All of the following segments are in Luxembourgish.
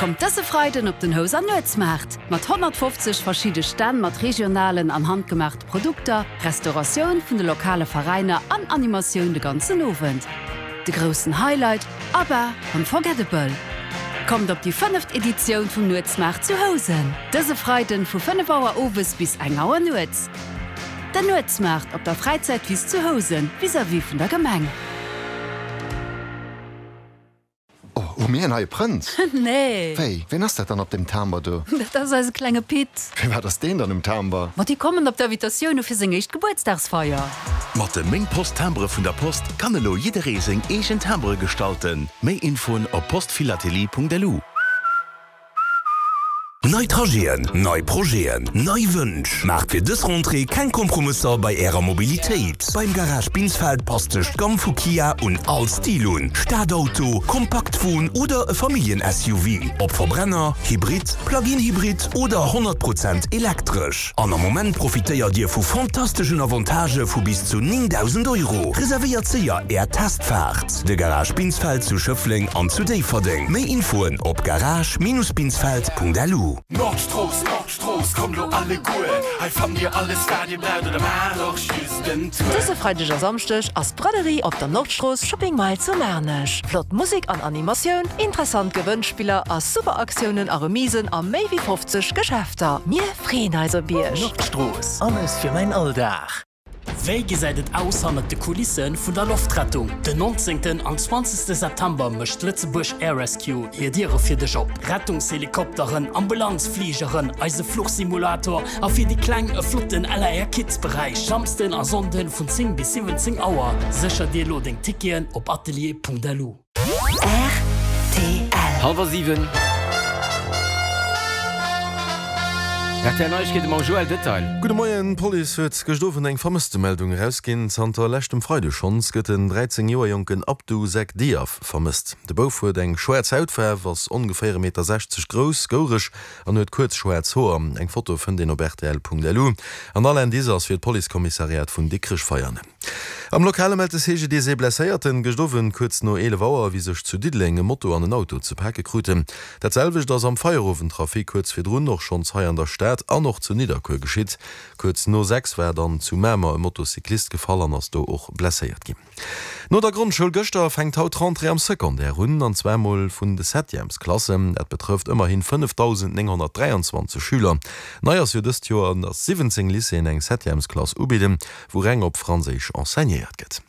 Kommt dëse Freiden op den Houser Nuetsmaart! Mat 150 verschidde Stänn mat regionalen an handgemaachte Produkter, Restauratioun vun de lokale Veräiner an Animatioun de ganzen Owend. De groussen Highlight, ABBA, Unforgettable! Kommt op déi fënneft Editioun vum Nuetsmaart zu Housen! Dëse Freiden vu 5 Auer owes bis eng Auer nuets. Den Nuetsmaart op der Fräizäitwiss zu Housen, vis-à-vis vun der Gemeng. Oh, hu mir en neie Prënz? Nee. Wéi, ween ass dat dann op deem Timber do? Dat ass eise klenge Pit. Firwat ass deen dann um Timber? Ma déi kommen op d'Invitatioun u fir seng éischt Gebuertsdagsfeier. Mat de Meng Post Timbere vun der Post kann elo jidderee seng eegen Timbere gestalten. Méi Infoen op postphilatelie.lu. Nei Trajeten, nei Projeten, nei Wënsch. Maacht fir dës Rentrée keng Kompromësser bei Ärer Mobilitéit. Beim Garage Binsfeld passt sech d'Gamm vu Kia un all Stil un, Stadauto, Kompaktwon oder e Familljen-SUV. Ob Verbrenner, Hybrid, Plug-in-Hybrid oder 100 Prozent elektresch. An am Moment profitéiert Dir vu fantasteschen Avantagë vu bis zu 9.000 Euro. Reservéiert séier Är Testfaart! De Garage Binsfeld zu Schëffleng an zu Déifferdeng. Méi Infoen op garage-binsfeld.lu. Nordstrooss, Nordstrooss, kommt lo alleguer, hei fannt dir alles wat dir braucht oder maacht och just en Tour. Dëse Freideg a Samschdeg ass d'Braderie op der Nordstrooss Shopping Mile zu Maarnech. Flott Musek an Animatioun, interessant Gewënnspiller a super Aktiounen a Remisen a méi wéi 50 Geschäfter. Mir Freeën eis op Iech! Nordstrooss, alles fir mäin Alldag. Wéi gesäit et aus hannert de Kulisse vun der Loftrettung? Den 19. an 20. September mécht Lëtzebuerg Air Rescue hir Diere fir dech op. Rettungshelikopteren, Ambulanzfligeren, eise Fluchsimulator a fir déi Kleng e flotten LAR Kids Beräich. Samsden a Sonnden vun 10 bis 17 Auer. Sécher dir elo deng Ticketen op atelier.lu. Rtl. Hallwer 7. Rtl Neiegkeete mam Joël Detail. Gudde Moien, D'Police huet gëscht Owend eng Vermësstemeldung erausginn. Zanter leschtem Freide schonns gëtt den 13 Joer jonken Abdou Seck Diaf vermësst. De Bouf huet eng schwaarz Hautfaarf, ass ongeféier e Meter 60 grouss, goureg an huet kuerz schwaarz Hoer. Eng Foto fënnt een op rtl.lu. An all Indice ass fir d'Policekommissariat vun Dikrech-Veianen. Am Lokale mellt de CGDIS ee Blesséierten gëscht Owend kuerz no 11 Auer, wéi sech zu Diddeleng e Moto an en Auto ze pake kruten. Dat selwecht ass am Feierowendtrafic kuerz virdrun och schonns hei an der Stad an och zu Nidderkuer geschitt. Kuerz no 6 war dann zu Mamer e Motocyclist gefall an ass do och blesséiert ginn. No der Grondschoul gëschter fänkt haut d'Rentrée am Secondaire un, an zwar mol vun de Septièmesklassen. Dat betrëfft ëmmerhin 5.923 Schüler. Nei ass jo dëst Joer, datt 17 Lycéeën eng Septièmesklass ubidden. wou reng op Franséisch enseignéiert gëtt.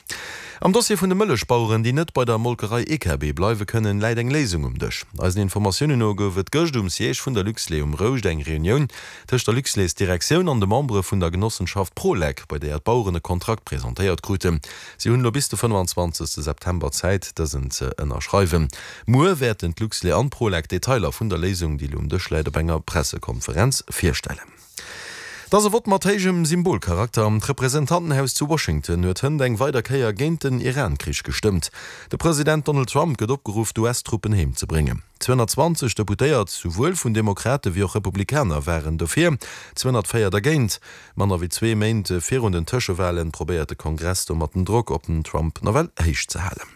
Am Dossier vun de Mëllechbaueren, déi net bei der Molkerei EKB bleiwe kënnen, läit eng Léisung um Dësch. Eisen Informatiounen no gouf et gëscht um Siège vun der Luxlait um Rouscht eng Reunioun tëscht der Luxlait-Direktioun an de Membere vun der Genossenschaft Prolec, bei deeër d'Baueren e Kontrakt presentéiert kruten. Si hunn elo bis de 25 September Zäit, dësen ze ënnerschreiwen. Muer wäerten d'Luxlait an d'Prolec d'Detailer vun der Léisung, déi elo um Dësch läit, op enger Pressekonferenz virstellen. Et ass e Vott mat héijem Symbolcharakter. D'Representantenhaus zu Washington huet hënt eng weider Kéier géint den Iran-Krich gestëmmt. De President Donald Trump gëtt opgeruff, d'US-Truppen heem ze bréngen. 220 Deputéiert, souwuel vun Demokrate wéi och Republikaner, waren dofir, 204 dergéint. Manner wéi zwee Méint virun den Tëschewalen probéiert de Kongress domat den Drock op den Trump nawell héich ze halen.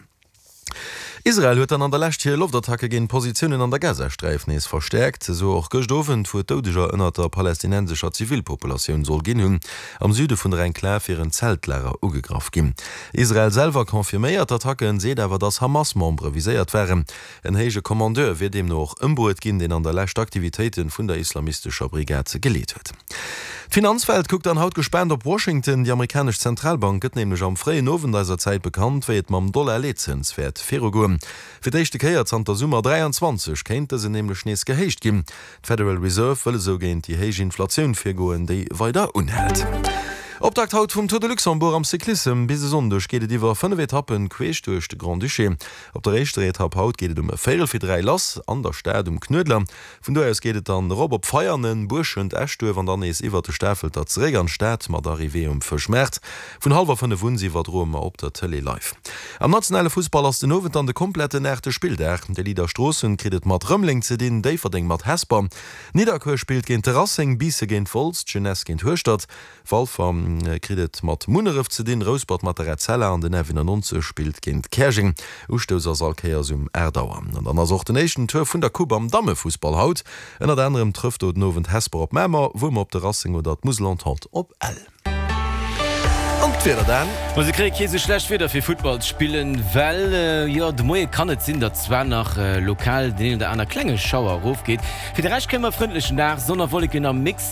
Israel huet dann an der Lescht hir Loftattacke géint Positiounen an der Gazasträif nees verstäerkt. Esou och gëscht Owend, wou et Doudeger ënnert der palästinensescher Zivilpopulatioun soll ginn hunn. Am Süde vun der Enklav wieren Zeltlager ugegraff ginn. Israel selwer confirméiert d'Attacken, seet awer, datt Hamas-Membere viséiert waren. En héije Kommandeur wier deemno och ëmbruet ginn, deen an der Lescht d'Aktivitéite vun der islamistescher Brigad geleet huet. D'Finanzwelt kuckt dann haut gespaant op Washington. Déi amerikanesch Zentralbank gëtt nämlech am fréien Owend eiser Zäit bekannt, wéi et mam Dollar-Leetzëns wäert virugoen. Fir d'éischte Kéier zanter Summer 23 kéint dësen nämlech nees gehéicht ginn. D'Federal Reserve wëll esou géint déi héich Inflatioun virgoen, déi weider unhält. Optakt haut vum Tour de Luxembourg am Cyclissem. Bis e Sonndeg geet et iwwer 5 Etappen queesch duerch de Grand-Duché. Op der éischter Etapp haut geet et um e véierel fir 3 lass an der Stad um Knuedler. Vun do aus geet et dann erop op Veianen, Buerschent, Eschduerf an dann nees iwwert de Stafelter zeréck an d'Stad mat Arrivée um Fëschmaart. Vun hallwer 5 un iwwerdroe mer op der Tëlee live. Am nationale Fussball ass den Owend dann de kompletten aachte Spilldag. De Leader Stroossen kritt et mat Rëmeleng ze dinn, Déifferdeng mat Hesper, Nidderkuer spillt géint de Racing, Biisse géint Wolz, d'Jeunesse géint Hueschtert, Walfer. kritt et mat Munneref ze dinn, Rouspert mat der Etzella an den F91 spillt géint Käerjeng. Ustouss ass all Kéiers um 8 Auer. An dann ass och den éischten Tour vun der Coupe am Dammefussball haut. Ënnert anerem trëfft do den Owend Hesper op Mamer, Wuermer op de Racing oder d'Musel Entente op Ell. An d'Wieder dann? Ma se kréie kee sou schlecht Wieder fir Futtball ze spillen, well jo de Moie kann et sinn, datt zwar nach lokal deen een oder aner klenge Schauer erofgeet. Fir de Rescht kréie mer e frëndlechen Dag, Sonn a Wolleken am Mix.